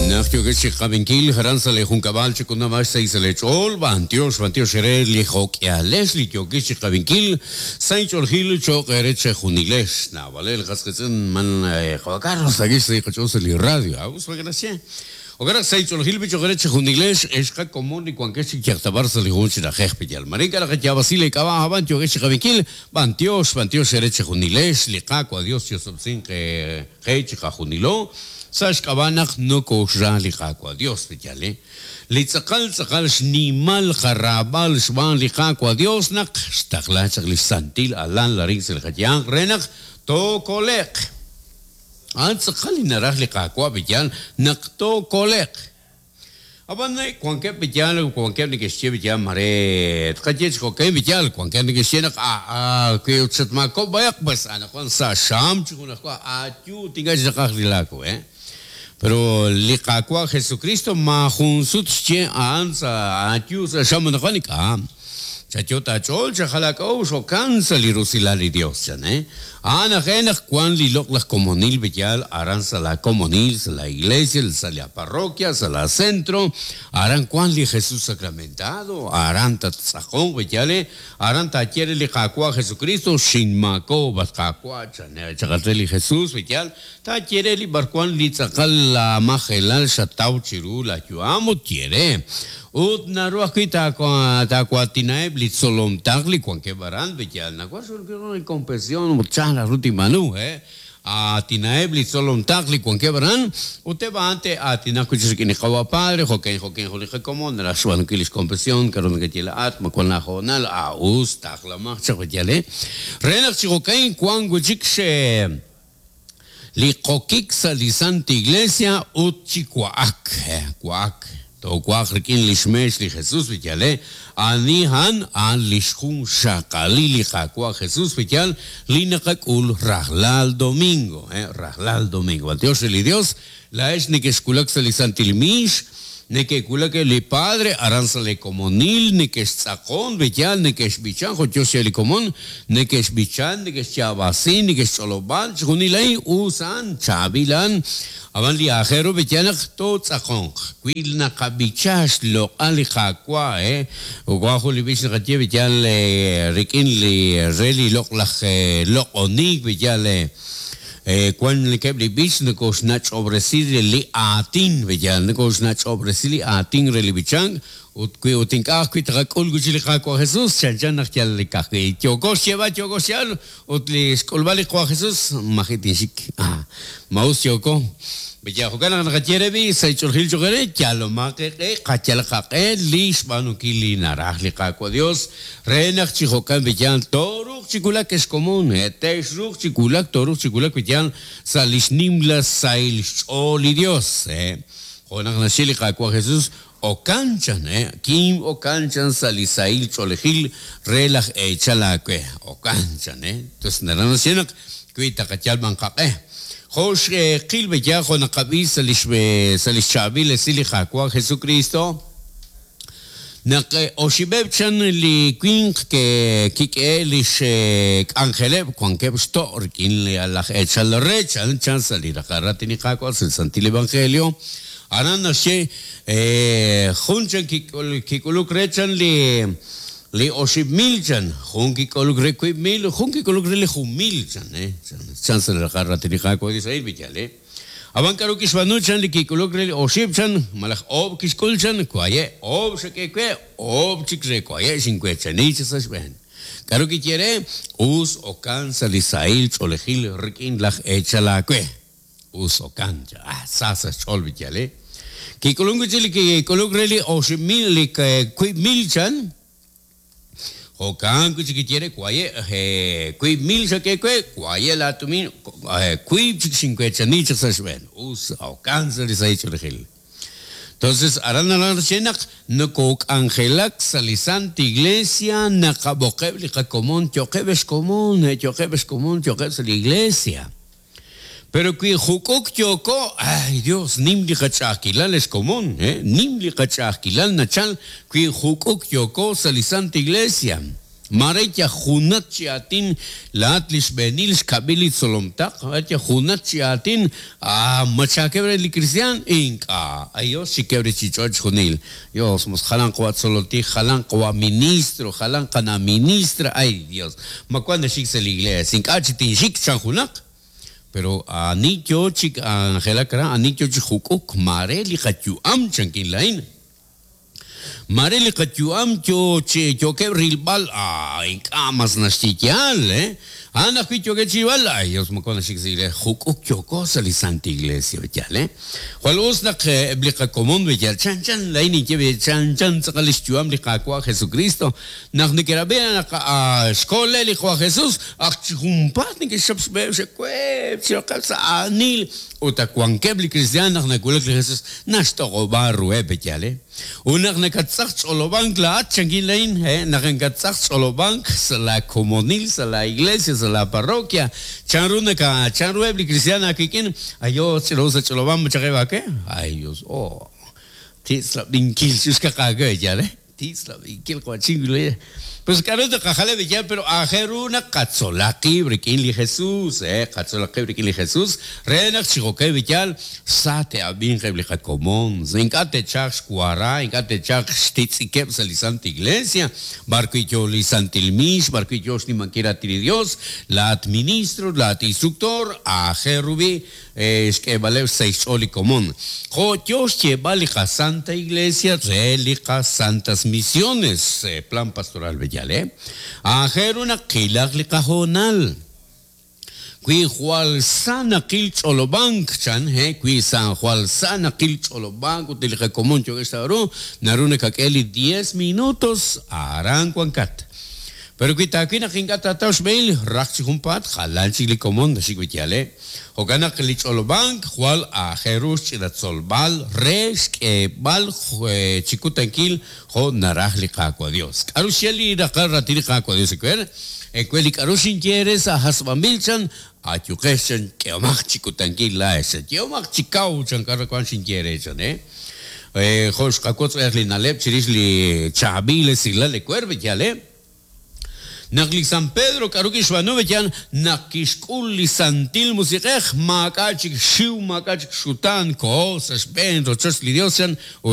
Naq yookex chi qab'inkil aran sa' lee junkab'al chik'unab'ax sa' sa' lee ch'ool, b'antiox, b'antiox eere li jo'k'ihalej li yookex chi qab'inkil sa' inch'oolejil cho'q eere chejunilex. Naab'aleb' li qas qiitz'in man Juan Carlos takix sa' qach'ool sa' li radio. Ah, us maak'a' Jo'kan naq sa' inch'oolejil b'i cho'q eere chejunilex, ex qakomon li wankex chi yaltab'ar sa' li jun chi na'ajej Piyal. Mare ink'a' naqayaab'asi lee k'ab'a' a'b'an yookex chi qab'inkil, b'antiox, b'antiox eere chejunilex, li Qaawa' Dios chi'osob'tesinq qe chiqajunilo, sa' xk'ab'a' naq nokooxra li Qaawa' Dios, Piyal. Li tz'aqal tz'aqal xnimal qaraab'al xb'aan li Qaawa' Dios naq xtaqla chaq lix santil Alal arin sa' li qayanq re naq tookole'q. A'an tz'aqal li naraj li Qaawa' b'iyal naq tookole'q. Ab'an wankeb' b'iyal wankeb' neke'xye b'iyal mare tqaye chi jo'kan b'iyal, wankeb' neke'xye naq aa wi ut xatmaakob'k b'ayaq pues anaqwan sa' xam chi junajwa ayu ut ink'a' chik naqaj li laawu eh. Pero li Qaawa' Jesucristo maajun sut xye a'an sa' ayu sa' xam anaqwan ink'a'. Chayot' aach'ool, chajal aak'a'uxl, jo'kan sa' li rusilal li Dios, chan, eh. A'an aj e naq wan li loq'laj komonil b'eyal aran sa' laa komonil, sa' laa iglesia, sa' laa parroquia, sa' laa centro, aran wan li Jesus Sacramentado, aran tattz'aqonq b'eyal, eh, aran taaye re li Qaawa' Jesucristo, Xinmaakob'k, at Qaawa', chan, eh, chaqal re li Jesus b'eyal, taaye re li b'arwan li tz'aqal laa majelal xataw chiru laa yu'am ut ye re. Ut naru ajwi' taawaatinaheb' li tzolom taql li wankeb' aran, b'eyal nawaj xb'aanunkil jun inkonfesión ut chan raj ru tinb'aanu, he? Aatinaheb' li tzolom taql li wankeb' aran, ut eb' a'an te'aatinaq wi' chik rik'in li Qawa' Padre, jo'kan jo'kan jun li qakomon naraj xb'aanunkil lix konfesión, k'a'ru nakaye laa'at, ma wan laahoonal, a us, taqlamaq chaq, b'eyal, he? Re naq chi jo'kan wank wi' chik xe. Li qokik sa' li Santa Iglesia ut chi wa'ak, wa'ak, toowa'aq rik'in lix meex li Jesus, b'iyal, ani a'an? A'an lix junxaqalil li Qaawa' Jesus, b'iyal, li naqak'ul rajlal domingo, rajlal domingo. B'antiox re li Dios, Laa'ex nekexwulak sa' li santil miix, neke'wulak eb' li padre aran sa' lee komonil, nekextz'aqon, b'eyal, nekexb'ichan jo' yoo xye li komon, nekexb'ichan, nekexyaab'asin, nekexch'olob'an, chixjunil a'in us a'an, chaab'il a'an, ab'an li aajel ru b'eyal naq tootz'aqonq. Wi naqab'icha xloq'al li Qaawa', wan jun li b'ich naqaye b'eyal rik'in li re li loq'laj loq'onink b'eyal, Wan keb' li b'ich nokoxnach'ob'resi li aatin, b'eyal, nokoxnach'ob'resi li aatin re li b'ichank, ut wi ut ink'a' ajwi' taqak'ul wi'chik li Qaawa' Jesus, chanchan naq yal ka'ajwi' yooko xyeeb'al, yooko xyeeb'al, ut li xk'ulb'al li Qaawa' Jesus, maji' tinxik. Ma us yooko? B'eyal, jo'kan naq naqaye re b'i' sa' ch'oolejil choq' eere, yalomaq eeq'e, qayalaq qaq'e li xb'aanunkil li naraj li Qaawa' Dios, Re naq chi jo'kan b'iyal tooruuq chi wulak ex komon, te'xruuq chi wulak, tooruuq chi wulak b'iyal sa' lix nimla sahil xch'ool li Dios. Jo' naq naxye li Qaawa' Jesus, Okan chan, kim okan chan sa' li sahil ch'oolejil re laj eechal aawe. Okan chan, Entonces naraj naxye naq wi taqayal b'an qaq'e. Jo' xqil b'iyal jo' naqab'i sa' lix sa' lix chaab'il esil li Qaawa' Jesukristo, Naq oxib'eb' chan li winq ke'kik'ehe' lix k'anjeleb' wankeb' xto' rik'in laj eechal re chan chan sa' li raqal raatin li Qaawa' sa' li Santil Evangelio, aran naxye, Jun chan kik'uluk re chan li 5,000 chan, jun kik'uluk re 3,000, jun kik'uluk re li 1,000 chan, chan sa' li raqal raatin li Qaawa' Israel, Villale. Ab'an k'aru kixb'aanu chan li kik'uluk re li oxib' chan, malaj oob' kixk'ul chan, waye', oob' xak'e we, oob' chik re waye' xinweechani chaq sa' xb'een. K'aru kiye re? Us okan sa' li sahil ch'oolejil rik'in laj eechal aawe. Us okan, chan. Ah, sa sa' xch'ool b'iyal, eh. Kik'ulunk wi' chik li kik'uluk re li 5,000, li 3,000 chan. Jo'kan wi' chik kiye re, Waye', 3,000 xak'e we, waye' laatumin, wiib' chik xinweechani chaq sa' xb'een. Us, jo'kan sa' li sahil ch'oolejil. Entonces, aran naraj naxye naq nokook'anjelak sa' li Santa Iglesia, naqab'oqeb' li qakomon, yo'qeb' ex komon, yo'qeb' ex komon, yo'qeb' sa' li Iglesia. Pero wi juk'uk yooko, ay Dios, nim li qach'a'ajkilal ex komon, nim li qach'a'ajkilal nachal wi juk'uk yooko sa' li Santa Iglesia. Mare yajunat chi aatin laat li xb'eenil xkab'il li tzolomtaq, yajunat chi aatin, machakeb' re li kristiaan, ink'a', ay Dios xikeb' re chi ch'och' junil. Dios, mos jalan qawa' tzololtij, jalan qawa' ministro, jalan qana' ministra, ay Dios, ma wan naxik sa' li iglesia, ink'a' chi tinxik chan junaq. Pero ani yo chik angelak ra, ani yo chi juk'uk, mare li qayu'am chankin lain. Mare li qayu'am yo chi yookeb' rilb'al, ink'a' mas naxye yaal, A'an ajwi' yookeb' chi rilb'al, ay Dios, moko naxik sa' iglesia, juk'uk yooko sa' li Santa Iglesia, yaal, Jwal us naq eb' li qakomon b'eyal, chan chan lain ninye b'e, chan chan tz'aqal lix yu'am li Qaawa' Jesucristo, naq neke'rab'i naq xkole li Qaawa' Jesus, ak chi junpaat neke'xchap xb'eheb' xe'weeb' chi roqeb' sa' aanil, ut ak wankeb' li kristiaan naq nawulak li Jesus, naxtoq'ob'a ruheb' b'eyal, Ut naq nakatz'aq ch'olob'ank laa'at, chankin lain, naq nakatz'aq ch'olob'ank sa' la komonil, sa' la iglesia, sa' la parroquia, chanru naka, chanruheb' li kristiaan aawik'in, ay Dios, ch'ilo sa' ch'olob'ank machaqeb' aawe, ay Dios, oh, titz'lab'inkil chuxkaq aawe, yaal, titz'lab'inkil q'uachin le. Pues k'a'ru taqajaleb' yaal, pero aajel ru naq qatzolaq qib' rik'in li Jesus, qatzolaq qib' rik'in li Jesus, re naq chi jo'kan yaal, sa te'ab'inq eb' li qakomon, ink'a' te'chalq xwara, ink'a' te'chalq xtitz'ikeb' sa' li Santa Iglesia, b'ar wi' yoo li Santil Miix, b'ar wi' yoo xnimankil raatin li Dios, laa'at ministro, laa'at instructor, aajel ru b'i' xk'eeb'aleb' xsahil xch'ool li komon. Jo' yoo xyeeb'al li qaSanta Iglesia re li qaSantas Misiones, Plan Pastoral B'eyal, aajel ru naq qilaq li qahoonal. Wi jwal sa naqil ch'olob'ank, chan, wi sa jwal sa naqil ch'olob'ank ut li qakomon yookeb' xtawb'al ru, naru nakak'e li 10 minutos aran wankat. Pero wi taawil naq ink'a' taataw xb'ehil, raj chi junpaat jalan chik li komon naxik wi' yaal, Jo'kan naq li ch'olob'ank jwal aajel ru xch'ina tzolb'al re xk'eeb'al chi kutankil jo' naraj li Qaawa' Dios. K'a'ru xye li raqal raatin li Qaawa' Dios ewer? Ewer li k'a'ru xinye eere sa' hasb'anb'il chan, ayuqex chan, k'ehomaq chi kutankil laa'ex chan, yehomaq chi kaw chan k'a'ru wan xinye eere chan, Jo' xqawotz b'ayaq li na'leb' chirix li chaab'il esilal ewer, yaal, Naq li San Pedro k'aru kixb'aanu b'eyan naq kixk'ul li Santil Musiq'ej, maak'a' chik xxiw, maak'a' chik xxutaan, koho sa' xb'een rochoch li Dios chan.